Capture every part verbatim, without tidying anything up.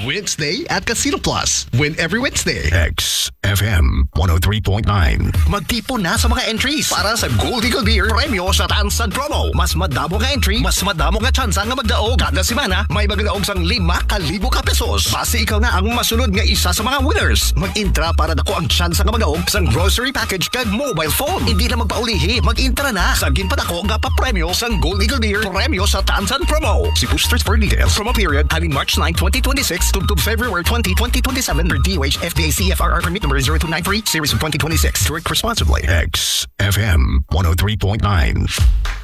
Wednesday at Casino Plus. Win every Wednesday. X F M one oh three point nine. Magtipon na sa mga entries para sa Gold Eagle Beer Premyo sa Tansan Promo. Mas madamo nga entry, mas madamo nga tsansa nga magdaog. Kada semana, may magdaog sang lima ka libo ka pesos. Basi ikaw na ang masunod nga isa sa mga winners. Mag-intra para dako ang tsansa nga magdaog sang grocery package kag mobile phone. Hindi na magpaulihi, mag-intra na sa ginpadako nga papremyo sang Gold Eagle Beer Premyo sa Tansan Promo. See posters for details. Promo period halin March nine, twenty twenty-six, tubtob February twenty, twenty twenty-seven, per D O H F D A C F R R permit number zero two nine three, series of twenty twenty-six. Drink responsibly. X F M one oh three point nine.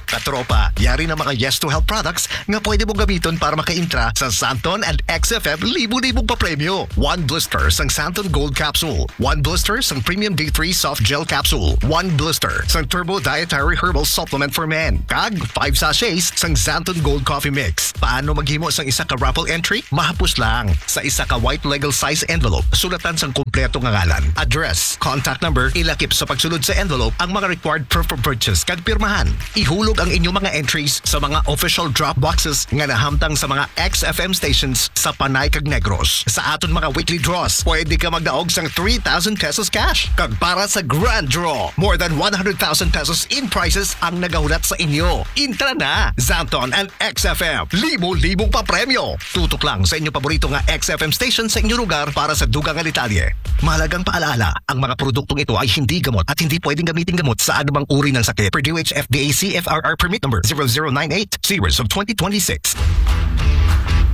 Katropa, yari na mga Yes to Help products nga pwede mong gamiton para makaintra sa Santon and X F M libo-libong papremyo. One blister sang Santon Gold Capsule, one blister sang Premium D three Soft Gel Capsule, one blister sang Turbo Dietary Herbal Supplement for Men, kag five sachets sang Santon Gold Coffee Mix. Paano maghimo sang isa ka raffle entry? Mahapos lang. Sa isa ka white legal size envelope, sulatan sang kompleto nga ngalan, address, contact number, ilakip sa pagsulod sa envelope ang mga required proof of purchase kag pirmahan. Ihulog ang inyong mga entries sa mga official drop boxes nga nahamtang sa mga X F M stations sa Panay kag Negros. Sa aton mga weekly draws, pwede ka magdaog sang three thousand pesos cash. Kag para sa grand draw, more than one hundred thousand pesos in prizes ang nagahulat sa inyo. Intra na, Santon and X F M. Libo-libong papremyo. Tutok lang sa inyo paborito nga X F M station sa inyo lugar para sa dugang nga detalye. Mahalagang paalaala, ang mga produktong ito ay hindi gamot at hindi pwedeng gamitin gamot sa anumang uri ng sakit. Per D O H F D A C F R R permit number zero zero nine eight, series of twenty twenty-six.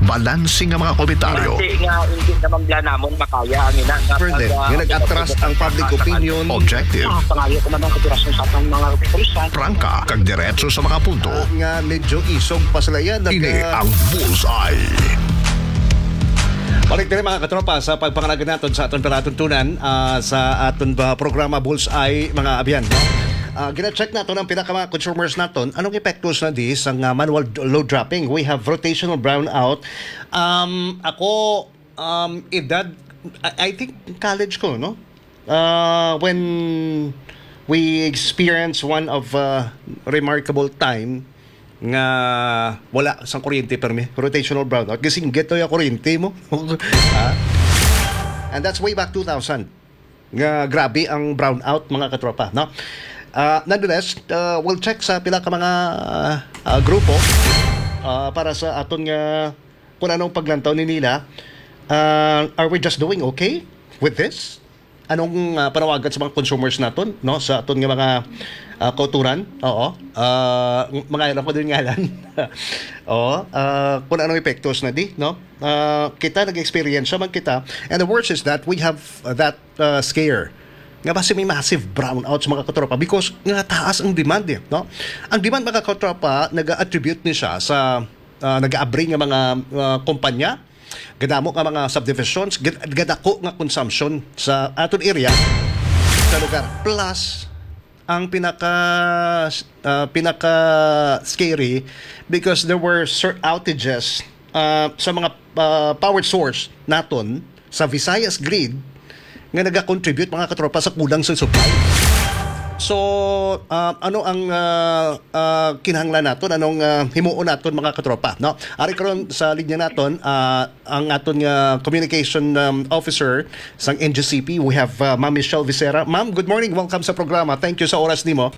Balanse nga mga komentaryo. Base nga hindi naman bala namon makaya ang ina nga Further, pag, ah, nga nag-atras ang public opinion. Objective. Ah, pangayo ko man ang kooperasyon sa atong mga kapulisan. Prangka, kag diretso sa mga punto. Ah, nga medyo isog pa sila yan. Ini Nag-, ah, ang Bullseye. Balik diri, mga katropa, sa pagpangalaga naton sa aton palatuntunan, ah, sa aton ba programa Bullseye, mga abyan, no? Ah, gina-check naton ang pila ka mga consumers naton. Anong epektos na di sa nga manual d-, load dropping? We have rotational brownout. Um, ako, um, edad, I, I think college ko, no? Ah, when we experience one of, ah, remarkable time nga wala sang kuryente permi, rotational brownout. Kasi getoy ang kuryente mo. Ah? And that's way back two thousand. Nga grabe ang brownout, mga katropa, no? Ah, nonetheless, ah, we'll check sa pila ka mga, ah, grupo, ah, para sa aton nga kung anong paglantaw ni nila. Ah, are we just doing okay with this? Anong, ah, panawagan sa mga consumers naton, no? Sa aton nga mga, ah, kauturan? Oo. Ah, ng-, mga ilang ko din ngalan. Oo. Ah, kung anong epektos na di, no? Ah, kita nag-experience man kita. And the worst is that we have that, ah, scare nga basi may massive brownout sa mga katropa because nga taas ang demand, eh, no? Ang demand, mga katropa, nag-attribute ni siya sa, ah, nag-aabri nga mga, ah, kumpanya, gadamo nga mga subdivisions, gad-, gadako nga consumption sa aton area, sa lugar. Plus, ang pinaka, ah, pinaka scary because there were sur-, outages, ah, sa mga, ah, power source naton sa Visayas Grid nga nagakontribute, mga katropa, sa kulang sa supply. So, ah, ano ang, ah, ah, kinahanglan naton? Anong, ah, himuon naton, mga katropa, no? Ari karon sa linya naton, ah, ang aton nga communication, um, officer sang N G C P, we have, uh, Ma'am Michelle Vicera. Ma'am, good morning. Welcome sa programa. Thank you sa oras nimo.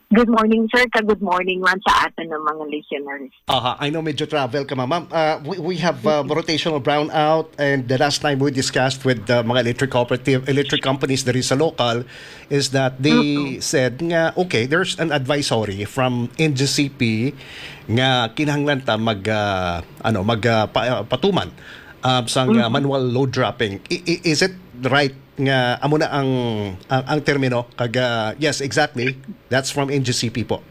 Good morning, sir, ka good morning man sa aton ng mga listeners. Aha, I know medyo travel ka, ma'am. Ma'am, uh, we, we have, uh, rotational brownout, and the last time we discussed with the mga electric cooperative, electric companies there is a local, is that they Mm-mm. said nga, okay, there's an advisory from N G C P nga kinahanglan ta mag, ah, ano, mag, ah, pa-, ah, patuman, ah, sang, ah, Mm-hmm. manual load dropping. I-, i-, is it right nga amo na ang, ang, ang termino? Kag, ah, yes, exactly. That's from N G C P po.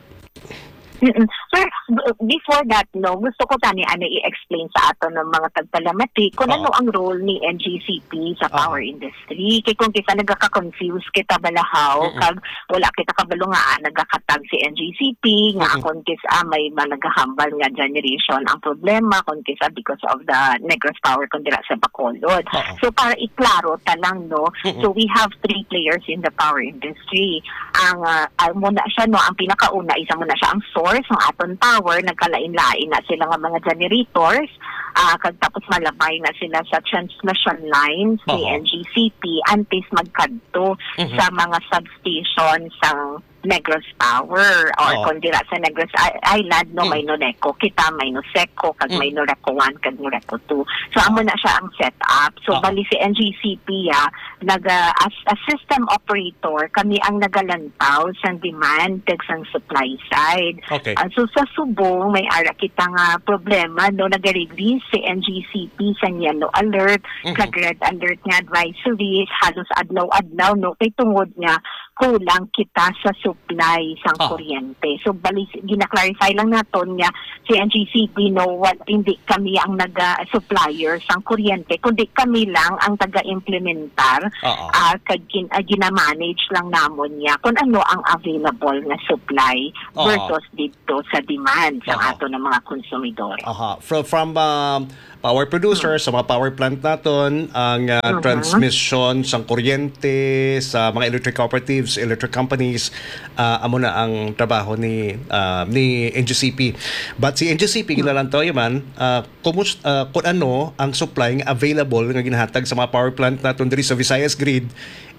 Mm-mm. Sir, b-, before that, no, gusto ko tani, ano, i-explain sa aton ng mga tagpalamati kung Oo. ano ang role ni N G C P sa Aha. power industry. Kay kung kita nagaka-confuse kita balahaw, Mm-mm. kag wala kita kabalo nga, ah, nagakatag si N G C P, nga Mm-mm. akon kis, ah, may mga nagahambal nga generation ang problema, kung kisa because of the Negros Power kung dira sa Bacolod. Oo. So, para iklaro ta lang, no? Mm-mm. So, we have three players in the power industry. Ang, ah, ah, muna siya, no, ang pinakauna, isa muna siya ang source, ang aton power, nagkalain-lain na sila nga mga generators. ah, kag tapos malabay na sila sa transmission lines ni Oo. N G C P antes magkadto Mhm. sa mga substation sang Negros Power or Oo. kung dira sa Negros I- Island, no, Mm. may Noneco kita, may Noseco, kag Mm. may Noreco one, kag Noreco two. So, amo Oo. na siya ang setup. So, Oo. bali si N G C P, ah, naga, as a system operator, kami ang nagalantaw sang demand kag sang supply side. Okay. Ah, so, sa subong, may ara kita nga problema, no, naga-release si N G C P sang yellow alert, Mhm. kag red alert nga advisories, halos adlaw-adlaw, no, kay tungod nga kulang kita sa supply sang Ah. kuryente. So, bali, gina-clarify lang naton nga si N G C P, no, wa-, hindi kami ang naga-, supplier sang kuryente, kundi kami lang ang taga-implementar, Oo. ah, kag gin-, ah, ginamanage lang namon niya kung ano ang available nga supply Oo. versus dito sa demand sa Aha. ato ng mga konsumidor. Aha. From, from, um, power producer, Hmm. sa mga power plant naton, ang, uh, Mhm. transmission sang kuryente sa mga electric cooperatives, electric companies, uh, amo na ang trabaho ni, uh, ni N G C P. But si N G C P, Hmm. ginalantaw man, uh, kumus-, uh, kung ano ang supply nga available nga ginahatag sa mga power plant naton diri sa Visayas Grid,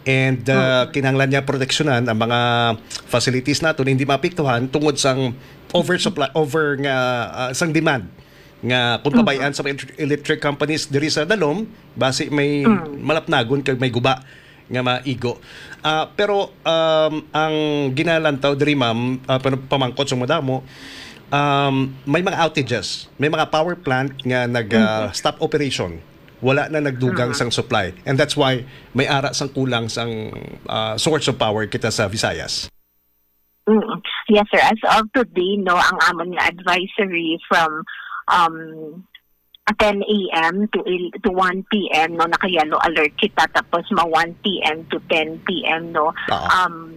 and, uh, Hmm. kinahanglan niya proteksyonan ang mga facilities naton, hindi maapektuhan tungod sang oversupply, over nga, uh, sang demand nga kung Mhm. pabayan sa mga electric companies diri sa Dalom, basi may Mm. malapnagon kag may guba nga maigo. Ah, pero, um, ang ginalantaw diri, ma'am, ah, pa-, pamangkot sa madamo, um, may mga outages, may mga power plant nga nag, ah, Mhm. stop operation. Wala na nagdugang Mhm. sang supply. And that's why may ara sang kulang sang, ah, source of power kita sa Visayas. Mm. Yes, sir. As of today, no, ang amon nga advisory from, um, ten a m to il-, to one p m, no, naka-yellow alert kita, tapos ma one p m to ten p m, no, Oo. um,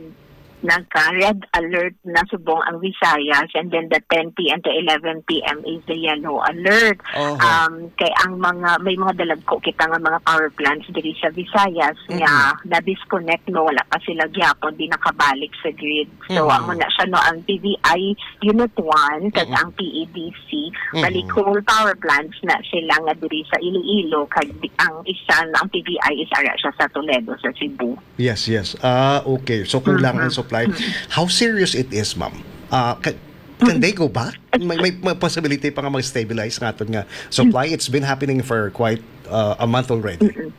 nagka-red alert na subong ang Visayas, and then the ten p m to eleven p m is the yellow alert. Oho. Um, kay ang mga, may mga dalagko kita nga mga power plants diri sa Visayas nga Mm-mm. na-disconnect, no, wala pa sila gyapon, di nakabalik sa grid. So, Mm-hmm. amo na siya, no, ang P V I Unit one, kag Mm-hmm. ang P E D C, Mm-hmm. bali coal power plants na sila nga diri sa Iloilo, kag di-, ang isa na ang P V I is ara siya sa Toledo, sa Cebu. Yes, yes. Ah, okay. So, kulang ang Mm-hmm. supply. Mm-hmm. How serious it is, ma'am? Ah, ca-, can Mm-hmm. they go back? May, may, may possibility pa nga mag-stabilize nga aton nga supply? It's been happening for quite, uh, a month already. Mm-hmm.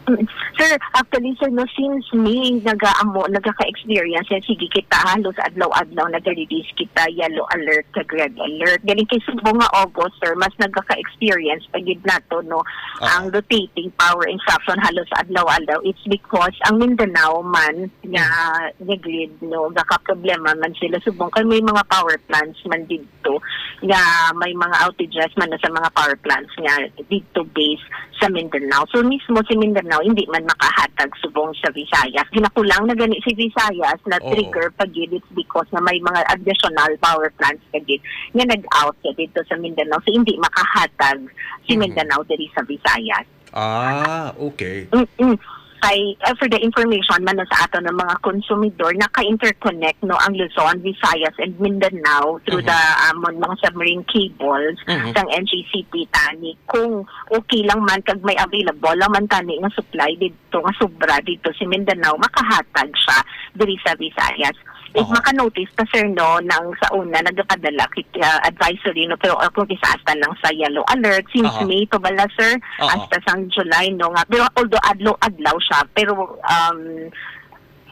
Mm. Sir, actually, sir, no, since May, nagaamo, nagaka-experience, eh, sige kita, halos adlaw-adlaw, nag-release kita, yellow alert, kag red alert. Galing kay subong nga August, sir, mas nagaka-experience pa gid nato, no, Ah. ang rotating power interruption halos adlaw-adlaw. It's because ang Mindanao man nga, Mm. nga grid, no, nagaka-problema man sila subong kay may mga power plants man didto nga may mga outages man sa mga power plants nga didto base sa Mindanao. So, mismo si Mindanao hindi man makahatag subong sa Visayas. Ginakulang na gani si Visayas na Oo. trigger pa gid, it's because na may mga additional power plants pa gid nga nag-out sa dito sa Mindanao. So, hindi makahatag si Mhm. Mindanao diri sa Visayas. Ah, okay. Mm-mm. Kay, uh, for the information man, no, sa ato ng mga konsumidor, naka-interconnect, no, ang Luzon, Visayas, and Mindanao through Mhm. the, um, mga submarine cables Mhm. sang N G C P tani. Kung okay lang man, kag may available lang man tani nga supply dito, nga sobra dito si Mindanao, makahatag siya diri sa Visayas. If Aha. maka-notice ta, sir, no, nang sa una, nagpadala kita advisory, no, pero, uh, kung isa hasta lang sa yellow alert, since Aha. May to bala, sir, Aha. hasta sang July, no, nga, pero although adlaw-adlaw siya, pero, um,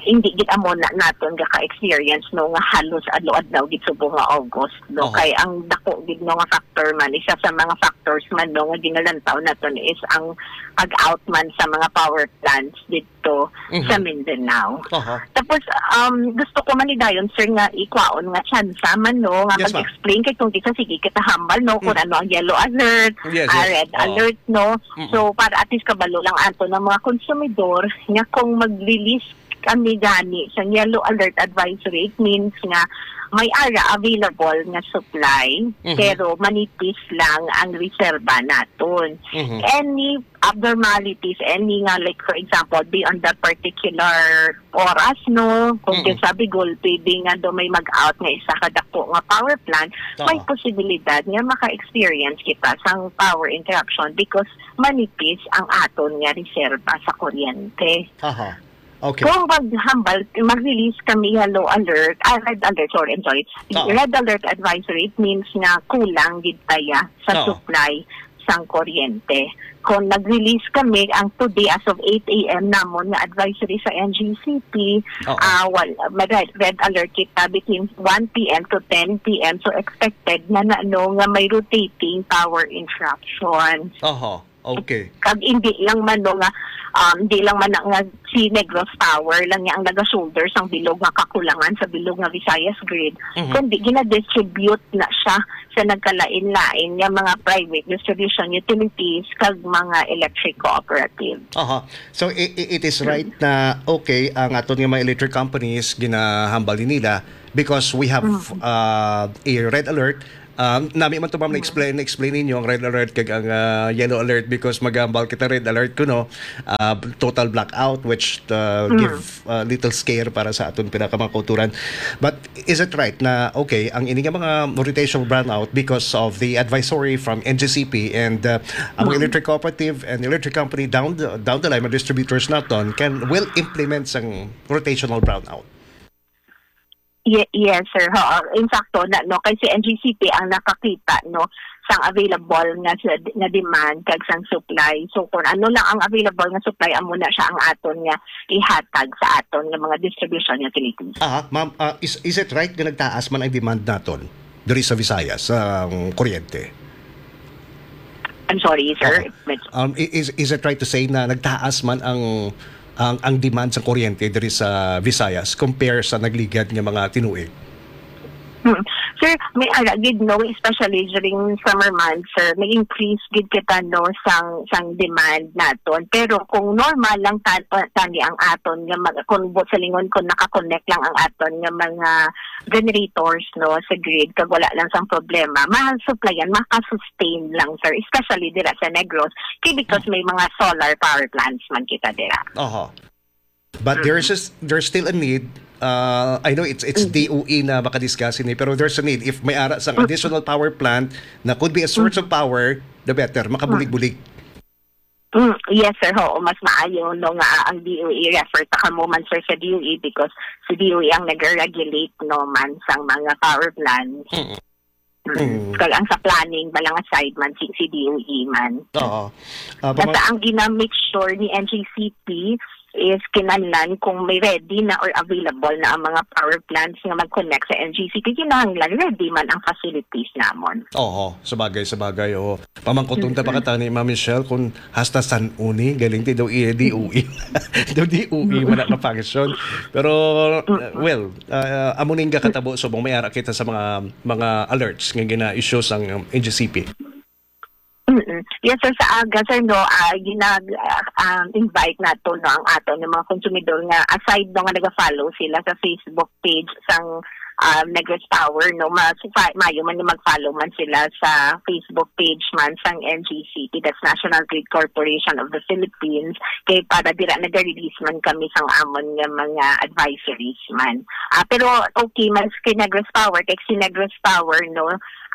hindi gid amo na naton gaka-experience, no, nga halos adlaw-adlaw gid subong nga August, no, Aha. kay ang dako gid, no, nga factor man, isa sa mga factors man, no, nga ginalantaw naton is ang pag-out man sa mga power plants dito Mhm. sa Mindanao. Aha. Tapos, um, gusto ko man ni dayon, sir, nga ikwaon nga tsansa man, no, nga Yes, ma'am. mag-explain kay kung di ka, sige kita hambal, no, kung Mm. ano ang yellow alert, Yes, ah, yes. red Oo. alert, no. Mm-mm. So, para at least kabalo lang ato ng mga konsumidor nga kung mag-release Kami gani sa yellow alert advisory, it means nga may ara available nga supply, Mhm. pero manipis lang ang reserba naton. Mhm. Any abnormalities, any nga, like, for example, beyond the particular oras, no? Kung Mm-mm. kinsa Bigol, pwede nga do may mag-out nga isa ka dako nga power plant, may Oo. posibilidad nga maka-experience kita sang power interruption because manipis ang aton nga reserba sa kuryente. Aha. Okay. Kung maghambal, mag-release kami yellow alert, ah, red alert, sorry, I'm sorry. Oo. Red alert advisory, it means nga kulang gid tayo sa Oo. supply sang kuryente. Kung nag-release kami ang today as of eight a m namon nga advisory sa N G C P, Oo. ah, wal-, mag-, red alert kita between one p m to ten p m. So, expected na, na, no, nga may rotating power interruptions. Oho. Okay. Kag hindi lang man, no, nga, um, hindi lang man na nga si Negros Power lang niya ang naga-shoulder sang bilog nga kakulangan sa bilog nga Visayas Grid, Mhm. kundi gina-distribute na siya sa nagkalain-lain nga mga private distribution utilities kag mga electric cooperative. Aha. So, i- i- it is right na, okay, ang aton nga mga electric companies, ginahambal ni nila because we have, Mm. uh, a red alert. Um, nami man to, ma'am, Mm. na-explain, na-explain ninyo ang red alert kag ang, uh, yellow alert because magambal kita red alert kuno, uh, total blackout, which, uh, Mm. give, uh, little scare para sa aton pinakamangkuturan. But is it right na, okay, ang ini nga mga rotational brownout because of the advisory from N G C P and, uh, ang mga Mm. electric cooperative and electric company down the, down the line, mga distributors naton can, will implement sang rotational brownout? Ye-, yes, sir. Oo. In fact, to, na, no, kay si N G C P ang nakakita, no, sang available nga sa, nga demand kag sang supply. So, kung ano lang ang available nga supply, amo na siya ang aton nga ihatag sa aton nga mga distribution utilities. Aha, ma'am, ah, is, is it right nga nagtaas man ang demand naton diri sa Visayas, sa, um, kuryente? I'm sorry, sir. Aha. Med- Um, i-, is, is it right to say na nagtaas man ang, ang, ang demand sa kuryente diri sa Visayas compare sa nagligad nga mga tinuig? Hmm. Sir, may ara gid, no, especially during summer months, sir, may increase gid kita, no, sang, sang demand naton. Pero kung normal lang ta-, tani ang aton nga mag-, kung bu-, sa lingon, kung nakakonect lang ang aton nga mga generators, no, sa grid, kag wala lang sang problema, ma-supplyan, maka-sustain lang, sir, especially dira sa Negros, kay because Mm. may mga solar power plants man kita dira. Oho. But Mm. there's just, there's still a need. Uh, I know it's, it's Mm. D O E na makadiscuss ini, pero there's a need. If may ara sang Mm. additional power plant na could be a source Mm. of power, the better. Makabulig-bulig. Mm, yes, sir. Oo, mas maayo, no, nga ang D O E refer ta kamo man, sir, sa D O E because si D O E ang nag-regulate, no, man sang mga power plants. Mm. Mm. Mm. Kag ang sa planning, balang side man si, si D O E man. Oo. Ah, Basta pamang- ang gina-make sure ni N G C P is kinahanglan kung may ready na or available na ang mga power plants nga mag-connect sa N G C P, kinahanglan ready man ang facilities namon. Oo, sabagay, sabagay, oo. Pamangkuton ta pa Mm-mm. katani, Ma'am Michelle, kung hasta san-o ni, galing ti daw iya D O E. Daw D O E man ang function. Pero, uh, Mm-mm. well, uh, amo ning gakatabo subong may ara kita sa mga, mga alerts nga gina-issue sang, um, N G C P. Mm-mm. Yes, sir, sa aga, sir, no, ah, ginag-, ah, um, invite nato, no, ang aton nga mga konsumidor nga aside, no, nga naga-follow sila sa Facebook page sang, um, Negros Power, no, mas fa-, maayo man nga mag-follow man sila sa Facebook page man sang N G C P, that's National Grid Corporation of the Philippines, kay para dira naga-release man kami sang amon nga mga advisories man. Ah, pero okay man kay Negros Power, kay si Negros Power, no,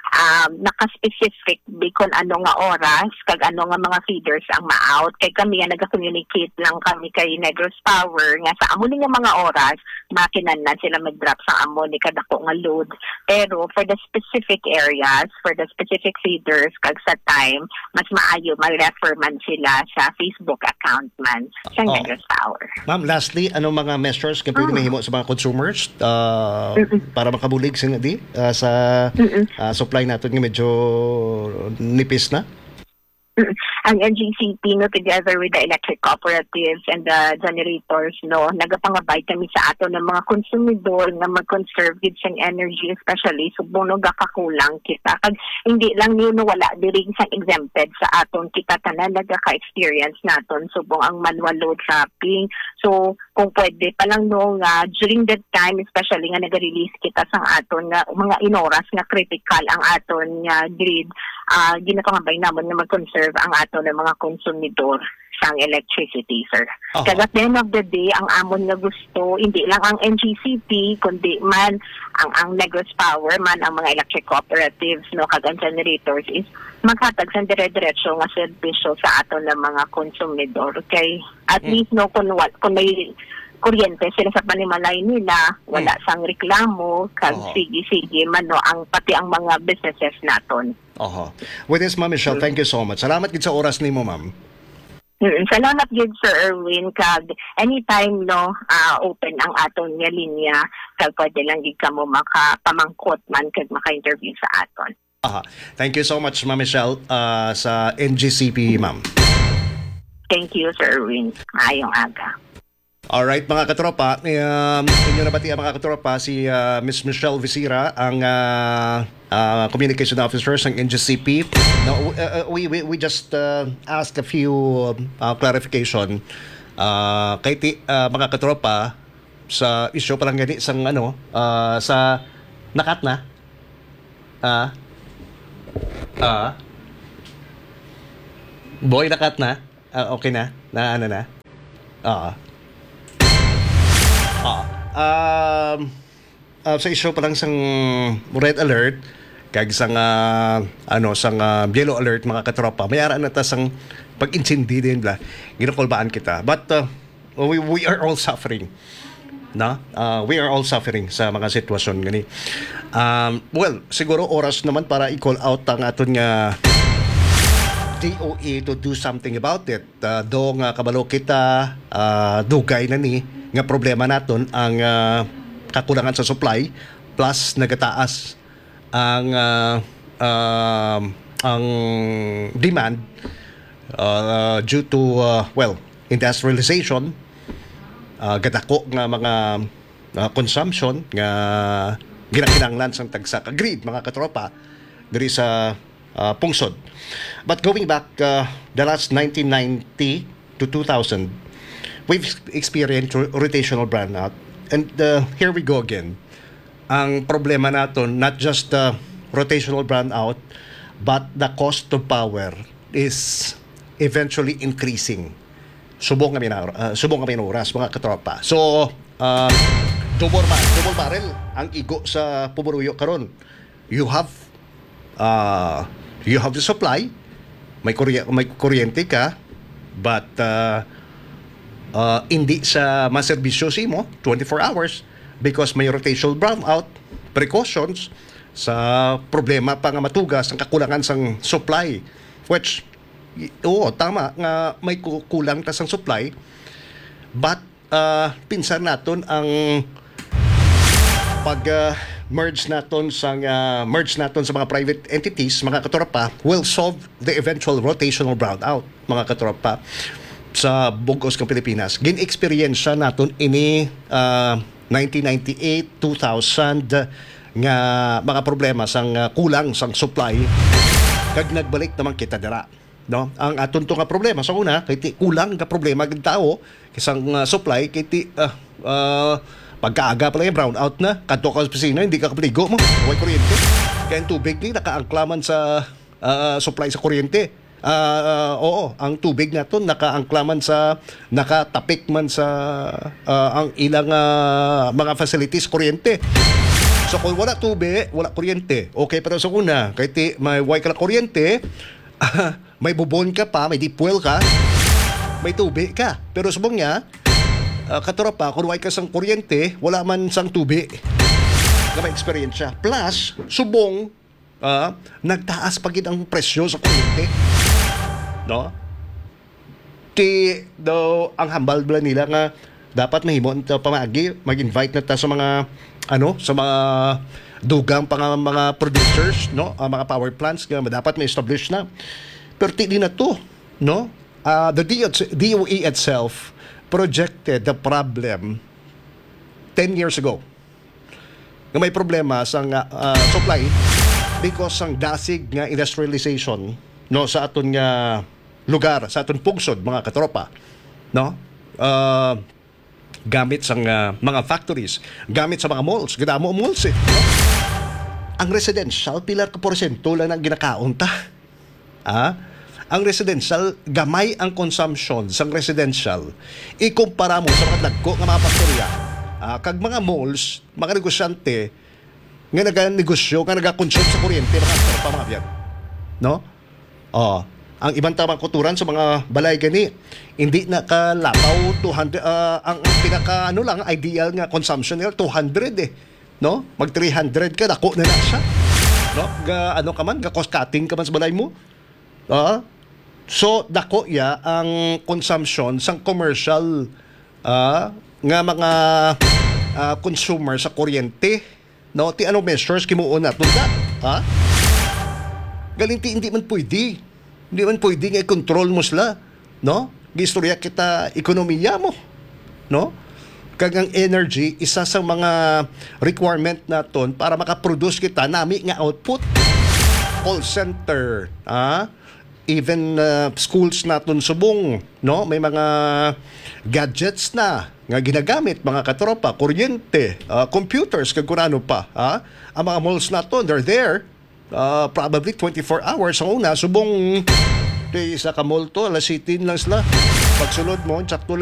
um, naka-specific di kon ano nga oras kag ano nga mga feeders ang ma-out. Kay kami nga naga-communicate lang kami kay Negros Power nga sa amo ni nga mga oras, makinahanglan sila mag-drop sa amo ni kadako nga load. Pero for the specific areas, for the specific feeders, kag sa time, mas maayo mag-refer man sila sa Facebook account man sa Oh. Negros Power. Ma'am, lastly, anong mga measures nga pwede Mm. mahimo sa mga consumers, ah, Mm-mm. para makabulig sa di, ah, sa, Mm-mm. ah, supply natin nga medyo nipis na? Mm. Ang N G C P, no, together with the electric cooperatives and the generators, no, nagapangabay kami sa aton nga mga konsumidor nga mag-conserve gid sang energy, especially subong, no, gakakulang kita. Kag hindi lang yun, no, wala diri sang exempted sa aton, kita tanan nagaka-experience naton subong ang manual load trapping. So, kung pwede pa lang, no, nga during that time, especially nga nag-release kita sang aton nga mga inoras nga critical ang aton nga grid, ah, ginapangabay namon nga mag-conserve ang aton nga mga konsumidor sang electricity, sir. Aha. Kag at the end of the day, ang amon nga gusto, hindi lang ang N G C P, kundi man ang, ang Negros Power man, ang mga electric cooperatives, no, kag ang generators is maghatag sang dire-diretso nga serbisyo sa aton nga mga konsumidor. Kay at Mm. least, no, kung wa-, kung may kuryente sila sa panimalay nila, wala Mm. sang reklamo, kag Oho. sige-sige man, no, ang, pati ang mga businesses naton. Oho. With this, Ma'am Michelle, Mm. thank you so much. Salamat gid sa oras nimo, ma'am. Mm, salamat gid, Sir Erwin, kag anytime, no, ah, open ang aton nga linya, kag pwede lang gid kamo makapamangkot man kag maka-interview sa aton. Aha. Thank you so much, Ma'am Michelle, ah, sa N G C P, ma'am. Thank you, Sir Erwin. Maayong aga. Alright, mga katropa, um, inyo nabati ang mga katropa, si, ah, Miss Michelle Visira, ang, ah, ah, communication officer sang N G C P. No, w-, uh, uh, we, we, we just, uh, ask a few, uh, clarification. Ah, kay ti-, ah, mga katropa, sa issue pa lang gani sang, ano, ah, sa nakat na. Ah. Ah. Boy, nakat na. Ah, okay na. Na ano na. Ah. Ah. Um, ah, sa issue pa lang sang red alert, kag sang, ah, ano, sang, ah, yellow alert, mga katropa, may ara na ta sang pag-intindi din, bla. Ginakulbaan kita. But, uh, we, we are all suffering. No? Uh, we are all suffering sa mga sitwasyon gani. Um, well, siguro oras naman para i-call out ang aton nga D O E to do something about it. Uh, do nga kabalo kita, uh, dugay na ni nga problema naton ang, uh, kakulangan sa supply plus nagataas ang, ah, um, ang demand, ah, due to, ah, well, industrialization, ah, gadako nga mga, ah, consumption nga ginakinahanglan sang tagsa ka grid, mga katropa, diri sa, ah, pungsod. But going back, ah, the last nineteen ninety to two thousand, we've ex-, experienced ro-, rotational brownout. And, ah, here we go again. Ang problema naton, not just the rotational brownout, but the cost of power is eventually increasing. Subong nga minor-, ah, subong nga minuras, mga katropa. So, ah, double ba-, double barrel ang igo sa pumuruyo karon. You have, ah, you have the supply, may kurye-, may kuryente ka, but, ah, ah, hindi sa maserbisyo sa imo twenty-four hours because may rotational brownout, precautions sa problema pa nga matugas ang kakulangan sang supply, which, y-, oo, tama nga may ku-, kulang ta sang supply, but, ah, pinsan naton ang pag, ah, merge naton sa, ah, merge naton sa mga private entities, mga katropa, will solve the eventual rotational brownout, mga katropa, sa bug-os nga Pilipinas. Gin-eksperyensya naton ini, ah, nineteen ninety-eight, two thousand, nga mga problema sang, ah, kulang sang supply, kag nagbalik naman kita dira, no? Ang aton to nga problema sa una, kay ti kulang nga problema gid tawo, kay sang, ah, supply, kay ti, ah, ah, pagkaaga pa lang, brownout na, kadto ka sa opisina, hindi ka kapaligo mo, way kuryente. Kay ang tubig ni nakaangkla man sa, ah, supply sa kuryente. Ah, ah, oo, ang tubig naton nakaangkla man sa, nakatapik man sa, ah, ang ilang, ah, mga facilities, kuryente. So, kung wala tubig, wala kuryente. Okay, pero sa una, kay ti, may way ka lang kuryente, may bubon ka pa, may deep well ka, may tubig ka. Pero subong niya, ah, katropa, kung way ka sang kuryente, wala man sang tubig nga may eksperyensya. Plus, subong, ah, nagtaas pa gid ang presyo sa kuryente. No? Ti, daw, ang hambal bala nila nga dapat mahimo ang pamagi, mag-invite na ta sa mga, ano, sa mga dugang pa nga mga producers, no? Ang mga power plants nga dapat ma-establish na. Pero ti di na to. no? Uh, the D O H, D O E itself projected the problem ten years ago, nga may problema sa nga, uh, supply because sang dasig nga industrialization, no, sa aton nga lugar, sa aton pungsod, mga katropa, no? Uh, gamit sa, uh, mga factories, gamit sa mga malls, kadamo ang malls, eh, no? Ang residential, pila ka porsyento lang ang ginakaon ta? Ah, ang residential, gamay ang consumption sang residential ikumpara mo sa mga dagko nga mga pastorya, ah, kag mga malls, mga negosyante nga naganegosyo, nga nagakonsume sa kuryente, mga tropa, mga abyan. No? Oh, ang iban ta mga kutoran sa mga balay gani, hindi na kalabaw two hundred, ah, ang, ang pinaka, ano lang, ideal nga consumption nila, two hundred, eh. No? Mag three hundred ka, dako na na siya. No? Ga, ano ka man, ga cost cutting ka man sa balay mo. Ah? So, dako ya ang consumption sang commercial, ah, nga mga, ah, consumer sa kuryente. No? Ti ano measures kimuon naton da? Ha? Galing ti hindi man pwede. Hindi man pwede nga i-control mo sila, no? Giistorya kita ekonomiya mo, no? Kag ang energy, isa sa mga requirement naton para makaproduce kita nami nga output. Call center, ah, even, uh, schools naton subong, no? May mga gadgets na nga ginagamit, mga katropa, kuryente, uh, computers, kag kung ano pa, ha? Ang mga malls naton, they're there, uh, probably twenty-four hours. Ang una, subong, di isa ka mall to, alas siyete lang sila. Pagsulod mo, sakto